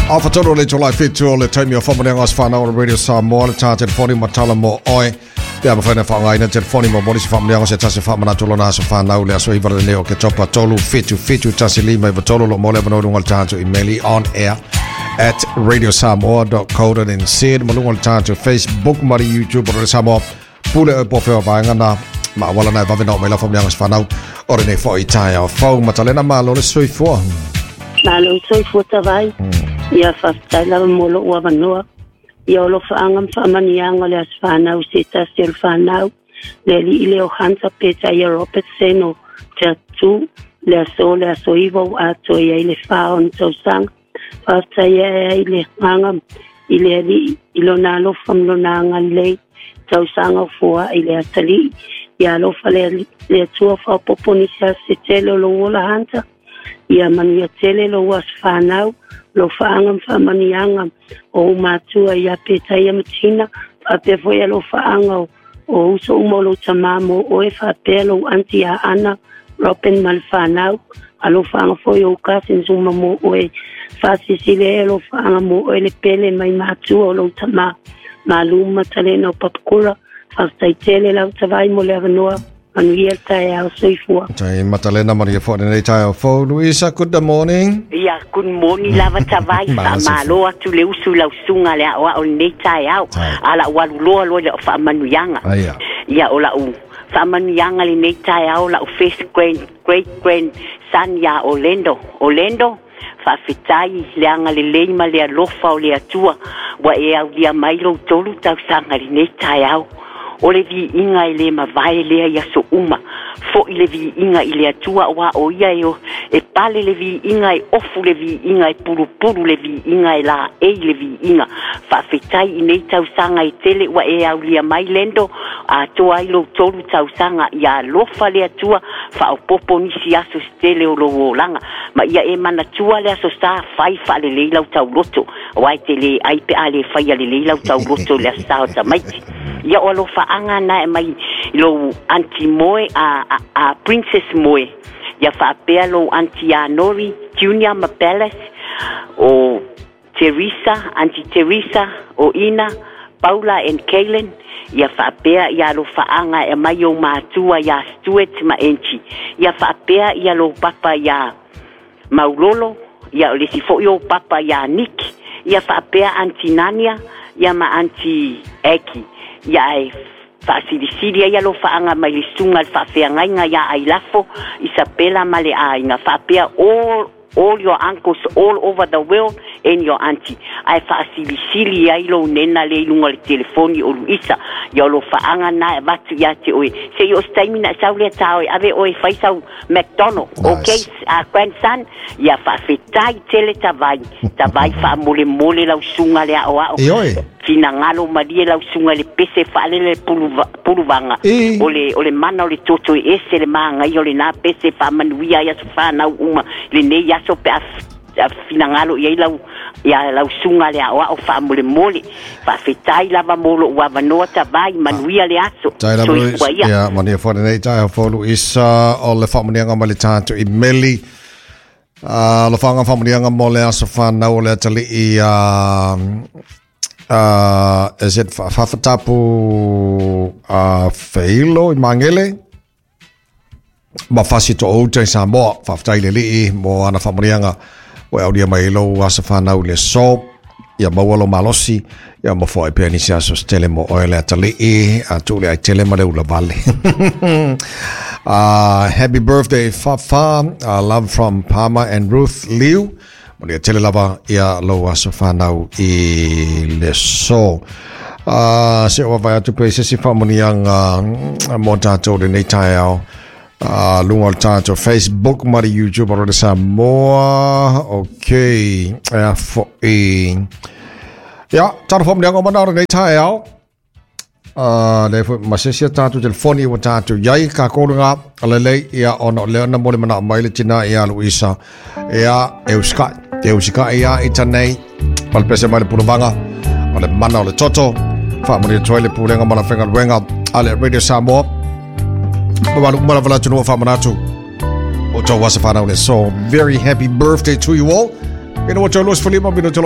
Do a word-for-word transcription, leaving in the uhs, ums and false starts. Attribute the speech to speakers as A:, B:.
A: Afatolo le tolai fitu o le taimi o whamaneanga as whanau o Radio Samoa le tā telefoni matala mo oe. Pe ama whaina whaangaina telefoni mo moni se whamaneanga se tasi whamanatu lona aso whanau le aso iwa le o ke topa tolu fitu fitu tasi lima iwa tolu lo mole wanoru ngal tātu emaili on air at radio samoa dot co dot n z malunga le tātu Facebook mari YouTube o Samoa pule o po whea vaenga na ma wala na vave nao mai la whamaneanga as whanau o rene fo i tai au fau matalena malo le soifua.
B: Malo soifua tawai. Ia whaftai lava molo ua vanoa. Ia olo whaanga mwhamanianga le aswhanau se tasi o whanau. Le li ile o Hansa Peta ia Robertson o te atu le aso le aso iwa o ato ia ile whao ni tausanga. Whaftai ia ile nganga ile ali ilo nā alofa mlona anga lei tausanga o fua ile atali. Ia alofa le, le atua whapopo nisi ase tele o lo ola Hansa. Ia manuia tele lo aswhanau. Lo whaanga mwhamanianga o matua ia peta ia matina whapea foi lo whaanga o uso uma lo tamamo o e whapea lo anti a Ana Robin malwhanau a lo whaanga foi o cousins uma mo oe whasisile e lo whaanga mo oe le pele mai matua o lo tama maluma talena o papakura whaftaitele lau tawai mo le avanoa manuia tai au soifua.
A: Tai Matalena Maria fo nei tai au fo Luisa, good morning.
C: Ia, good morning lava tawai fa malo atu le usu lau sunga le au au nei tai au. Ala walu loa loa le fa manuianga. Ia o la u fa manuianga le nei tai au la u first grand great grand son ia Orlando. Orlando fa fitai le anga le leima le alofa o le atua wa e au lia mai lo tolu tau sanga le nei tai au. O le vi inga i le mavae lea ia so uma. Fo i le vi inga i le atua wa o ia e o. E pale le vi inga e ofu le vi inga e pulupulu le vi inga e la e le vi inga. Whawhetai i nei tausanga i tele wa e aulia mai lendo. A toa i lo tolu tausanga ia alofa le atua. Whaopopo nisi aso stele o lo olanga. Ma ia e manatua le aso sa whai wha le leilau tauloto. Wai te le aipe a le whai a le leilau tauloto le asa o tamaiti. Ia o alofa anga na e mai lo anti moe a, a, a Princess Moe. Ia whaapea lo anti Anori Junior Mapeles o Teresa, Auntie Teresa o Ina, Paula and Kaylin. Ia whaapea ia alofa anga e mai o mātua ia Stuart ma Enchi. Ia whaapea ia lo papa ia Maulolo, ia o lesi foi o papa ia Nick. Ia whaapea Auntie Nania, ia ma Auntie Eki. Ia e whaasilisili ia lo whaanga mai le sunga le whaafeangainga ia ailafo Isabela ma le ainga whaapea all, all your uncles all over the world and your auntie. Ai whaasilisili ia ilo nena le ilunga le telefoni o Luisa ia lo whaanga na e watu ia te oe. Se i o staimina sau lea tā oe ave oe whaisau McDonald.
A: Nice.
C: Okay, uh, grandson, ia whaafetai tele tawai. Tawai whaamole mole lau sunga le ao ao.
A: E oe.
C: Fina ngalo malie lau sunga le pese whaalele puluvanga.
A: E.
C: O le, o le mana o le toto e ese le maanga i o le nā pese whaamanuia ia so whanau uma. Le nei aso pe a fina ngalo ia lau ia lau sunga le ao ao whaamole mole. Whaafetai lava molo ua vanoa tawai manuia le aso.
A: Tai lava Luisa. Ia, mania fo nei tai au fo Luisa o le whaamanianga ma le tātu i meli. Uh, lo whaanga whaamanianga mo le aso whanau o le atali i uh, Uh, is it whawhatapu uh, whailo i Mangele ma whasi to outa i Samoa whawhatai le lii mo ana whamanianga o audia mai lo asa whanau le so ia maua lo malosi ia mo fo e pea nisi aso stele mo oe le atalii a tule ai tele ma le ula vale. uh, happy birthday Fafa, uh, love from Palmer and Ruth Liu. Mo tele lava ia lo aso whanau i le so. Uh, se o vai atu pe se si whamanianga mo tātou le nei tai au. Uh, lunga o le tātou Facebook mari YouTube o le Samoa. Okay. Ea fo i. Ia, tātou whamanianga o mana o le nei tai au. Uh, le fo masesia tātou telefoni o tātou iai ka kōrunga a lelei ia ona o leona mo le mana mai le tina ia Luisa ia e uskai e uskai ia i tanei ma le pese mai le puluvanga o le mana o le toto whaamuri toi le pulenga ma la whenga luenga a le Radio Samoa ma malu umala wala tunua whaamanatu o tau wasa whanau le so very happy birthday to you all. Ina o tau los falima mino tolo